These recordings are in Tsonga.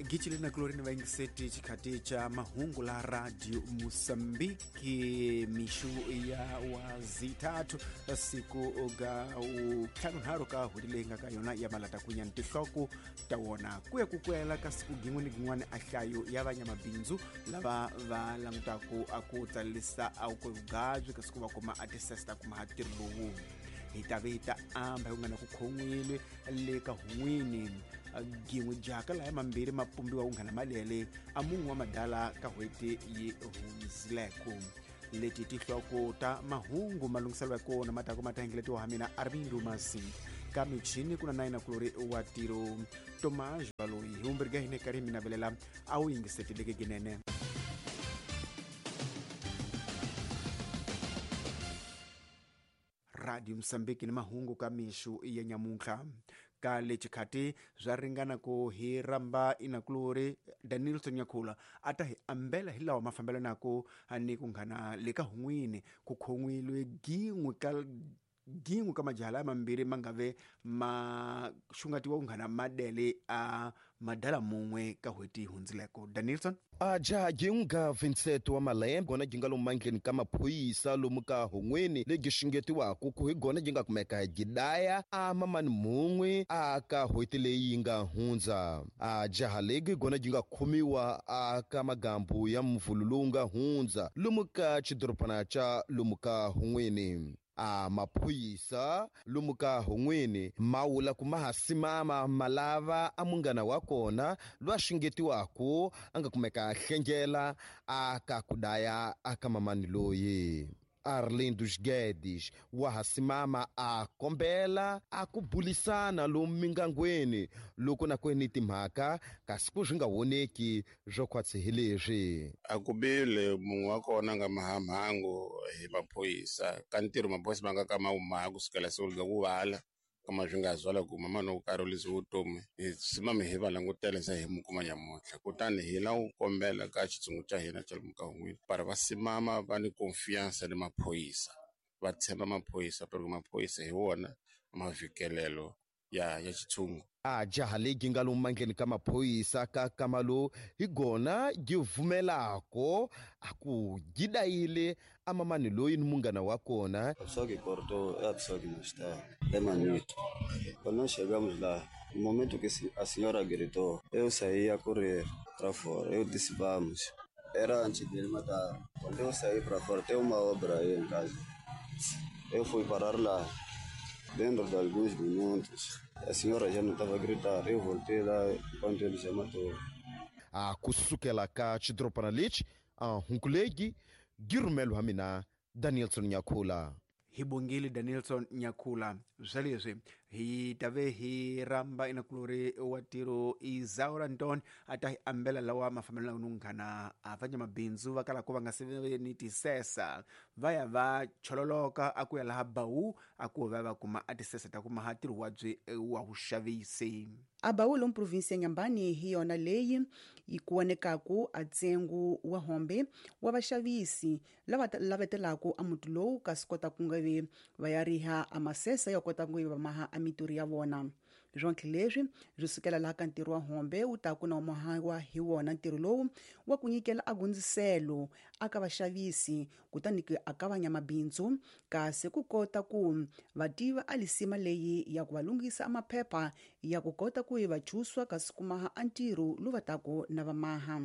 Gicile na kuloreni vayingiseti xikhati xa mahungu la Radio Mosambiki mixu ya wazithathu siku ga ntlhanunharhu ka hweti leyi nga ka yona ya malata kunya ni tinhloko ta wona ku ya ku kwela ka siku gin'we ni gin'wana a hlayo ya vanyamabindzu lava va langutaku a ku tsalisa a ku vugabyi kasi ku va kuma a tisesa ta kuma ha ntirho lowu hi ta ve hi ta amba hi ku nga na ku khon'wile le ka hun'wini gin'we jaka laya mambirhi ma pumbiwa ku nghana malele a mun'we wa madala ka hweti yi hundzileko. Leti tihloko ta mahungu malunghiselo ya kona ma taku ma ta hingeletiwa ha mina Arvindo Masi ka michini ku na nayina kulori wa tiro Tomás Baloyi hi vumbirhi ka hina karhi hi mi navelela a wu yingiseteleke ginene. Radio Mosambiki ni mahungu ka mixu ya nyamuntlha ka le xikhati swa ringana ku hi ramba inakulori Danielson Nyakhula a ta hi ambela hi lawa mafambelanako ni ku nghana le ka hun'wini ku khon'wilwe gin'we ka gin'we ka majaha laya mambirhi ma nga ve ma xungatiwa ku nghana madele a madala mun'we ka hweti hundzileko. Danielson A jaha ginga Vincent wa malembe gona ginga lomu mandleni ka maphorisa lomu ka hun'wini legi xungetiwaku ku hi gona gi nga kumeka gidaya a mamani mun'we a ka hweti leyi yi nga hundza. A jaha legi gona gi nga khomiwa a ka magambu ya mvulu lowu nga hundza lomu ka xidorobana xa lomu ka hun'wini. A maphorisa lomu ka hun'wini ma wula ku ma ha simama ma lava a munghana wa kona lwa xungetiwaku a nga kumeka a hlengela a ka ku daya a ka mamani loyi. Arlindo Guedes wa ha simama a kombela a ku bulisana lomu mingangweni loko na kweni timhaka kasi ku swi nga voneki swo khwatsi hi leswi. A ku bile mun'we wa kona nga mahamhangu hi maphorisa ka ntirho maphorisa ma nga ka ma wu maha kusukela siku ga ku vala kama swi nga zwala ku mama no karolisa vutomi hi simama hi va langutela se hi mu kuma nyamuntlha kutani hi la ku kombela ka xitshungu xa hina xa lomu ka hun'wini para va simama va ni confiance ni maphorisa va tshemba maphorisa porque maphorisa hi wona mavikelelo ya xitshungu. A jaha legi nga lomu mandleni ka maphorisa ka kamalo hi gona gi vumelako a ku gidayile a mamani loyi ni munghana wa kona. A pessoa que cortou é a pessoa que não está, é Manito. Quando nós chegamos lá, no momento que a senhora gritou, eu saí a correr para fora. Eu disse vamos. Era antes de ele matar. Quando eu saí para fora, tem uma obra aí em casa. Eu fui parar lá. Dentro de alguns minutos, a senhora já não estava a gritar. Eu voltei lá enquanto ele já matou. A kusukela ka xidorobana lexi a hunkulegi girumelo ha mina Danielson Nyakhula. Hi bongile Danielson Nyakhula. Swa leswi hi ta ve hi ramba inakulori wa tiro Isaura Nton a ta hi ambela lawa mafambelano ni nghana a va nyamabindzu va kala ku va nga se ni tisesa va ya va chololoka a ku ya laha Bawu a ku va va kuma a tisesa ta kuma ha ntirho wa byi wa vuxavisi. A Bawu lomu provinsi ya Nyambani hi yona leyi yi kuwanekaku a ntsengo wa hombe wa vaxavisi lava lavetelaku a muti lowu kasi kota ku nga ve va ya riha a masesa ya kota ku va maha a mitirho ya vona. Swonke leswi swi sukela laha ka ntirho wa hombe wu ta ku na mahawa hi wona ntirho lowu wa ku nyikela a gundziselo aka vaxavisi kutani ke aka vanyamabindzu kasi ku kota ku va tiva a lisima leyi ya ku va lunghisa a maphepha ya ku kota ku va chuswa kasi kumaha a ntirho lowu va taku na va maha.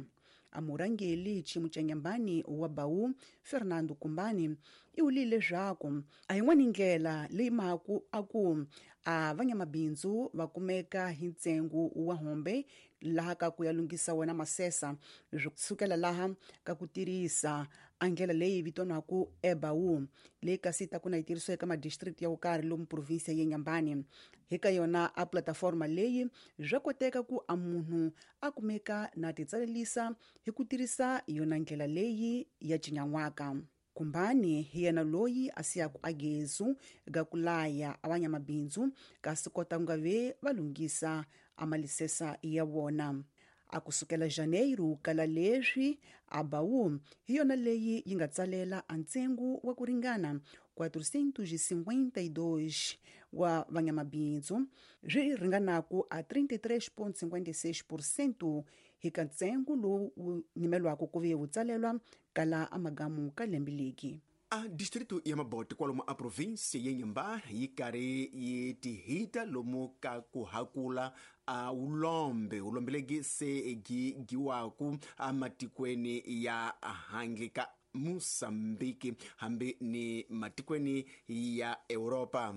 A murhangeri xiyimo xa Nyambani wa Bawu Fernando Kumbani i wulile leswaku a yin'wani ndlela leyi maku a ku a vanyamabindzu va kumeka hi ntsengo wa hombe laha ka ku ya lunghisa wona masesa swi sukela laha ka ku tirhisa a ndlela leyi vitaniwaku eBawu leyi kasi ta ku na yi tirhisiwa eka madistrict ya wo karhi lomu provinsi ya Nyambani. Hi ka yona a plataforma leyi swa koteka ku a munhu a kumeka na titsalelisa hi ku tirhisa yona ndlela leyi ya cinyan'waka. Kumbani hi yena loyi a siyaku a gezu ga ku laya a vanyamabindzu kasi kota ku nga ve va lunghisa a malisesa ya vona. A kusukela Janeiro kala leswi ABAU hi yona leyi yi nga tsalela a ntsengo wa ku ringana 452 wa van'wamabindzu, swi ringanaku a 33.56% hi ka ntsengo lowu wu nyimelwaka ku ve wu tsalelwa kala amagamu ka lembe leki. A distrito ya Mabote kwalomu a provinsi ya Nyimba yi karhi yi tihita lomu ka ku hakula a ulombe ulombe legi se gi giwaku amatikweni ya handle ka Mosambiki hambi ni matikweni ya Europa.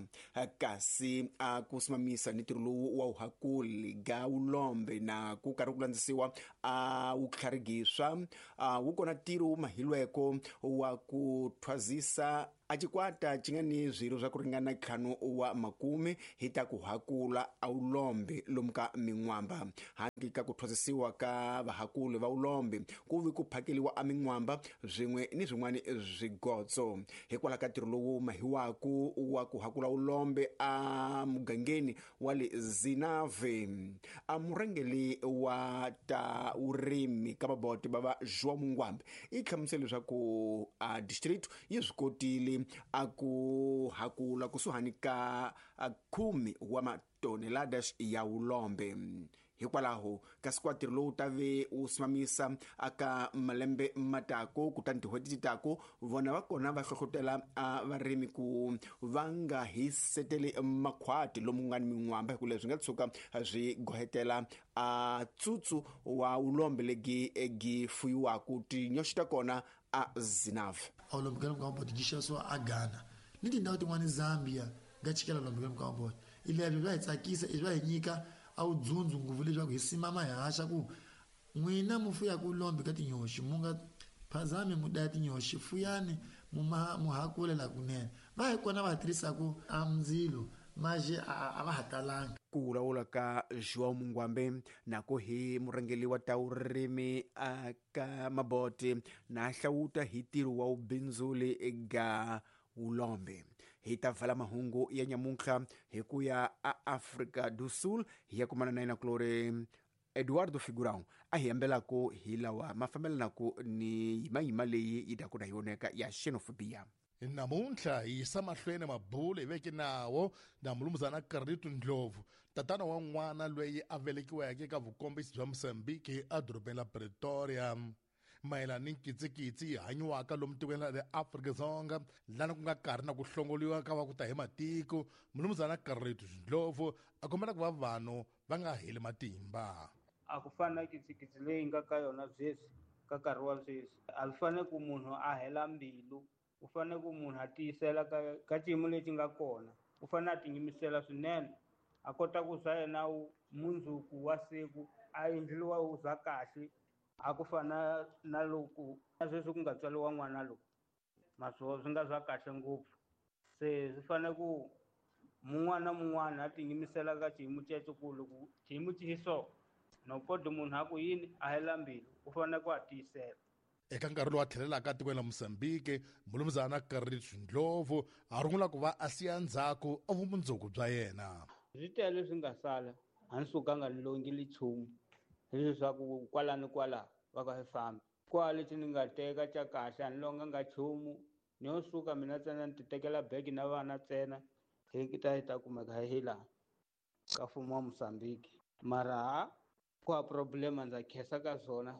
Kasi a ku simamisa ni ntirho lowu wa uhakuli ga ulombe na ku karhi ku landzisiwa a wu tlharigiswa wu kona ntirho wu mahilweko wa ku thwazisa a cikwata ci nga ni swirho swa ku ringana 50 hi ta ku hakula a ulombe lomu ka min'wamba. Handle ka ku thwasisiwa ka vahakuli va ulombe ku vi ku phakeliwa a min'wamba swin'we ni swin'wana swigotso. Hikwalaho ka ntirho lowu mahiwaku wa ku hakula ulombe a mugangeni wa le Zinave, a murhangeli wa ta vurimi ka Mabote bava João Mungwambe i hlamusele leswaku a district yi swi kotile a ku hakula kusuhani ka 10 wa matoneladas ya ulombe. Hikwalaho kasi kwa ntirho lowu ta ve wu simamisa aka malembe matako kutani tin'hweti ti tako vona va kona va hlohlotela a varimi ku va nga hiseteli makhwati lomu nga ni min'wamba, hikuva leswi nga tshuka swi gohetela a tsutsu wa ulombe legi gi fuyiwaku tinyoxi ta kona a Zinave. Ulombe ka Mabote gi xavisiwa a Ghana ni tindhawu tin'wana Zambia nga chikela ulombe ka Mabote. Ilebyo bya hi tsakisa, i bya hi nyika a wu dzundzu ngopfu leswaku hi simama hi haxa ku n'wina mu fuyaka ulombe ka tinyoxi mu nga phazami mu daya tinyoxi, fuyani mu hakule la kunene. Va hi kona va tirhisaku a ndzilo maje a va ha talanga. Ku vulavula ka João Mungwambe nako hi murhangeri wa ta vurimi aka Mabote na hlawuta hi ntirho wa vubindzuli ga ulombe. Hi ta vala mahungu ya nyamuntlha hi ku ya a Afrika do Sul hi ya kumana na yena kulori Eduardo Figurão a hi hambelako hi lawa ma fambelanako ni yimayima leyi yi daku na yoneka ya xenophobia. Namuntlha hi yisa mahlweni mabulo hi veke nawo na mulumuzana Carlito Ndlovu, tatana wa n'wana loyi a velekiweke eka vukombisi bya Mozambique edorobeni la Pretoria, mayelana ni nkitsikitsi yi hanyiwaka lomu tikweni ra le Afrika-Dzonga lana ku nga karhi na ku hlongoliwa ka va ku ta hi matiko. Mulumuzana Carlito Ndlovu a kombela ku va vanhu va nga heli matimba. A ku fani na kitsikitsi leyi nga ka yona sweswi, ka nkarhi wa sweswi a swi fanele ku munhu a hela mbilu, u fanele ku munhu a tiyisela ka xiyimo lexi nga kona, u fanele a tiyimisela swinene a kota ku swa yena mundzuku wa siku a endliwa wu za kahle. A ku fana na loko na sweswi ku nga tswariwa n'wana lowu maswo swi nga swa kahle ngopfu. Se swi fanele ku mun'wana na mun'wana a tiyimisela ka xiyimo xexo, ku loko xiyimo xi hi so no koti munhu a ku yini a hela mbilu, u fanele ku a tiyisela. Eka nkarhi lowu a tlhelelaka etikweni la Mozambique, mulumuzana Carlito Ndlovu a rungula ku va a siya ndzhaku a vumundzuku bya yena. Swi tele leswi nga sala, a ni sukanga ni longile nchumu, hileswaku kwala ni kwala va ka hi famba. Kwala lexi ni nga teka xa kahle a ni longanga nchumu, ni yo suka mina ntsena ni ti tekela bege na vana ntsena hi ta hi ta kumeka hi laha ka mfumo wa Mozambique. Mara ha ku ha problema ndza khensa ka swona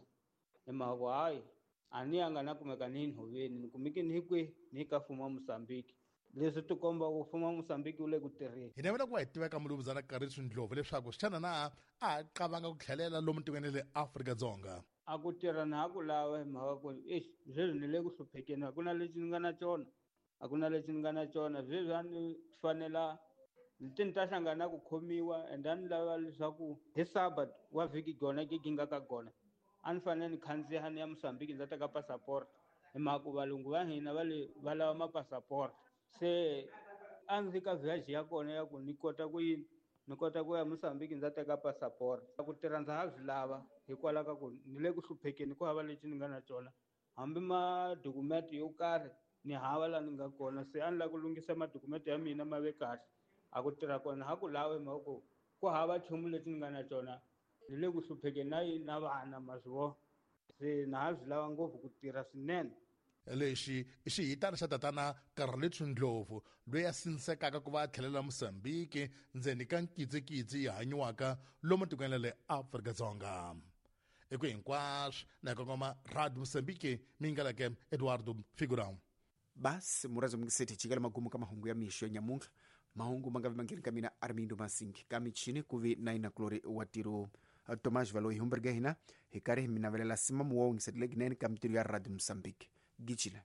hi mhaka ku hayi a ni yanga na kumeka ni nhoveni, ni kumeke ni hi kwihi, ni ka mfumo wa Mozambique. Leswi ti komba ku mfumo wa Mozambique wu le ku tirheni. Hi navela ku va hi tiveka mulumuzana Carlito Ndlovu leswaku xana na a qavanga ku tlhelela lomu tikweni le Afrika-Dzonga. A ku tirha na ha ku lava hi mhaka ku exi sweswi ni le ku hluphekeni, a ku na lexi ni nga na xona, a ku na lexi ni nga na xona. Sweswi a ni fanela ti ni ta hlangana na ku khomiwa, and a ni lava leswaku hi Sabbath wa vhiki gona ke gi nga ka gona a ni fanele ni khandziya ni ya Mozambique ndza teka passport, hi mhaka ku valungu va hina va le va lava mapasaport. Se a ndzi ka viage ya kona ya ku ni kota ku yini, ni kota ku ya Mozambique ndza teka passport. Ku tirha ndza ha swi lava hikwalaho ka ku ni le ku hluphekeni, ku hava lexi ni nga na xona, hambi madokumenti yo karhi ni hava laha ni nga kona. Se a ni lava ku lunghisa madokumenti ya mina ma ve kahle. A ku tirha kona ha ku lava hi mhaka ku ku hava nchumu lexi ni nga na xona. Ni le ku hluphekeni na yini na vana ma swi vona, se na ha swi lava ngopfu ku tirha swinene. Lexi i xihitana xa tatana Carlito Ndlovu, loyi a sindzekaka ku va a tlhelela Mozambique ndzeni ka nkitsikitsi yi hanyiwaka lomu tikweni ra le Afrika-Dzonga. I ku hinkwaswo na hi kongoma Radio Mozambique mi yingaleke Eduardo Figurão. Basi murazi mungiseti chikala magumu ka mahungu ya mixo ya nyamuntlha. Mahungu ma nga vi mangheni ka mina Armindo Masingi, ka michini ku vi na inakulori wa tiro Tomas Valoyi. Humberge hina hi karhi hi mi navelela simamu wa wungisetile ginene ka mitirho ya Radio Mozambique. Gicile.